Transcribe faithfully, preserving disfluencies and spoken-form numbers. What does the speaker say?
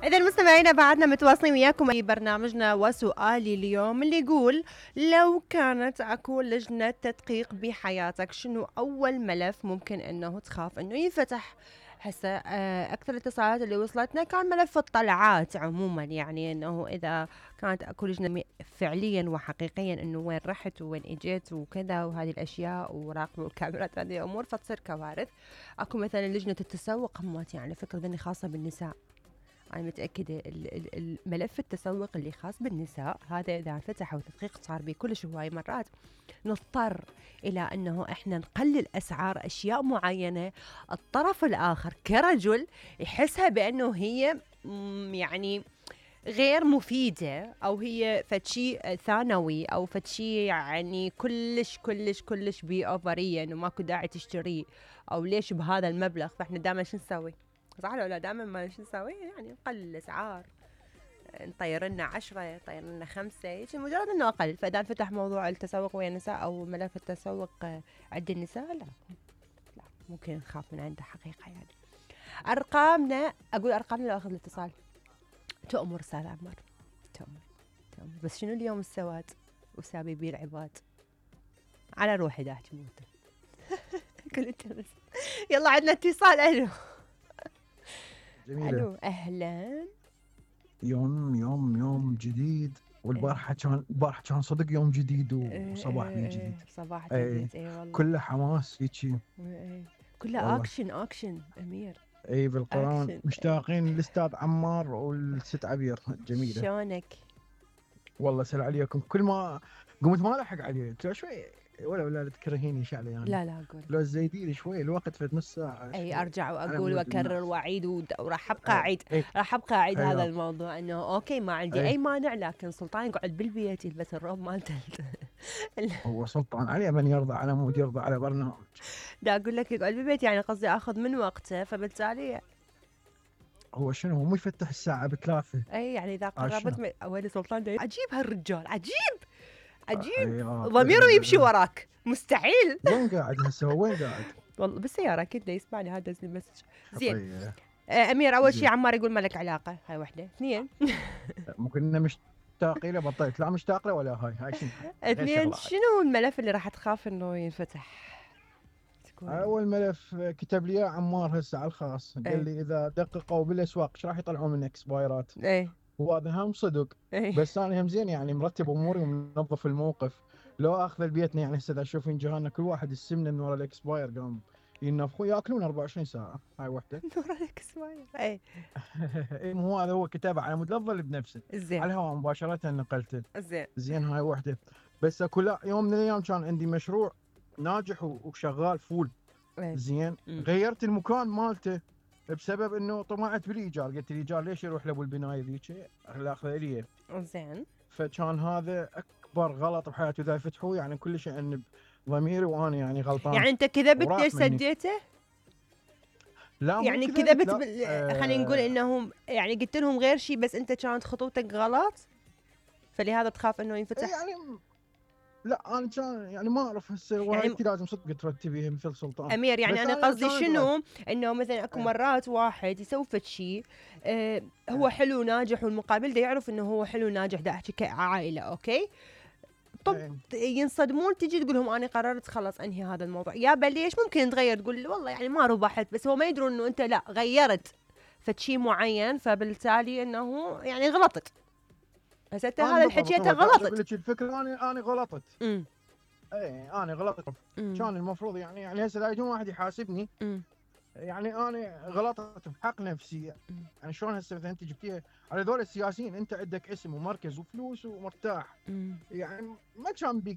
إذا مستمعينا بعدنا متواصلين وياكم في برنامجنا وسؤالي اليوم اللي يقول لو كانت اكو لجنة تدقيق بحياتك شنو أول ملف ممكن أنه تخاف أنه ينفتح؟ هسه أكثر الاتصالات اللي وصلتنا كان ملف الطلعات عموما، يعني أنه إذا كانت اكو لجنة فعليا وحقيقيا أنه وين رحت وين إجيت وكذا وهذه الأشياء وراقبوا الكاميرات هذه أمور فتصير كوارث. اكو مثلا لجنة التسوق همات، يعني فكرة ذني خاصة بالنساء. أنا متأكدة الملف التسوق اللي خاص بالنساء هذا إذا فتح وتدقيق صار به كلش هواي مرات نضطر إلى أنه إحنا نقلل أسعار أشياء معينة، الطرف الآخر كرجل يحسها بأنه هي يعني غير مفيدة أو هي فتشي ثانوي أو فتشي يعني كلش كلش كلش بي أوفرية إنه ماكو داعي تشتريه أو ليش بهذا المبلغ. فإحنا دائما شو نسوي؟ صح ولا دائما ما شو نسوي؟ يعني نقلل الأسعار، نطير لنا عشرة نطير لنا خمسة، مجرد إنه أقل. فإذا فتح موضوع التسوق ويا النساء أو ملف التسوق عند النساء لا لا ممكن نخاف من عنده حقيقة. يعني أرقامنا، أقول أرقامنا لو أخذ الاتصال. تؤمر أستاذ عمار، تؤمر تؤمر، بس شنو اليوم السواد وسابي بيه العباد على روحي دا أحكي موته. قلت بس يلا عندنا اتصال. ألو جميلة. ألو أهلا. يوم يوم يوم جديد، والبارحة كان البارحة كان صدق يوم جديد وصباح بيه جديد. صباح اي جديد اي والله، كله حماس هيجي، كله اكشن اكشن امير. اي بالقرآن. أكشن. مشتاقين للاستاذ عمار والست عبير. جميلة شلونك؟ والله سل عليكم. كل ما قمت ما الحق عليه شوي ولا ولا تكرهيني شعلي يعني. لا لا اقول لو زيدي شوي الوقت في نص ساعة. اي ارجع واقول واكرر واعيد وراح ابقى اعيد أي. راح ابقى اعيد أي. هذا الموضوع انه اوكي ما عندي أي. اي مانع، لكن سلطان يقعد بالبيت يلبس الروب مالته. هو سلطان عليه من يرضى على مود يرضى على برنامج. دا اقول لك يقعد بالبيت، يعني قصدي اخذ من وقته، فبالتالي هو شنو هو مو يفتح الساعة بثلاثة. اي يعني اذا قربت من وين سلطان ده عجيب هالرجال، عجيب عجيب آه. ضميره يمشي وراك مستحيل. وين قاعد هسه وين قاعد؟ والله بالسيارة كده يسمعني هذا المسج. زين. طيب. آه أمير أول شيء زين. عمار يقول ما لك علاقة، هاي وحدة. اثنين ممكن انه مشتاق له بطلت لا مشتاق له ولا هاي هاي شنو؟ اثنين شنو الملف اللي راح تخاف إنه ينفتح؟ اول ملف كتب لي عمار هسه على الخاص، قال لي اذا دققوا بالاسواق ايش راح يطلعون من اكسبايرات. ايه وهذا هم صدق. ايه. بس انا هم زين يعني مرتب اموري ومنظف الموقف. لو اخذ بيتنا يعني هسه اشوفين جيراننا كل واحد السمنه من ورا الاكسباير قام ينفخوا ياكلون أربعة وعشرين ساعه. هاي وحده. نور الاكسباير. ايه اي مو هذا هو كتابه على مود لا تظل بنفسه. زين على الهواء مباشره نقلته. زين زين هاي وحده. بس اكو لا يوم من الايام كان عندي مشروع ناجح وشغال فول. ايه. زين مم. غيرت المكان مالته بسبب انه طمعت بالايجار، قلت الايجار ليش يروح لابو البنايه ذيك اخذ لي. زين فكان هذا اكبر غلط بحياتي، اذا يفتحوه يعني كل شيء انب ضميري وانا يعني غلطان. يعني انت كذبت وراح ليش مني. سديته؟ لا مو يعني كذبت، كذبت لا. بال... آه. خلينا نقول انهم يعني قلت لهم غير شيء بس انت كانت خطوتك غلط فلهذا تخاف انه ينفتح. يعني لا انا كان يعني ما اعرف هسه يعني وهاي لازم صدق ترتبيها مثل سلطان. امير يعني بس انا أنا قصدي كان شنو غلط. انه مثلا اكو إيه. مرات واحد يسوي فد شيء آه هو إيه. حلو ناجح والمقابل ده يعرف انه هو حلو ناجح، ده احكي كعائله اوكي. طب إيه. ينصدمون تجي تقول لهم انا قررت خلص انهي هذا الموضوع، يا بل ليش ممكن تغير تقول والله يعني ما ربحت، بس هو ما يدرون انه انت لا غيرت فد شيء معين فبالتالي انه يعني غلطت. هسه انت هذا الحكي انت غلطت. اقول لك الفكره انا انا غلطت. امم اي انا غلطت. كان المفروض يعني يعني هسه لا يجون واحد يحاسبني. امم يعني انا غلطت بحق نفسي. يعني شلون هسه مثلا انت جبتيها على ذول السياسيين، انت عندك اسم ومركز وفلوس ومرتاح. مم. يعني ما كان بيك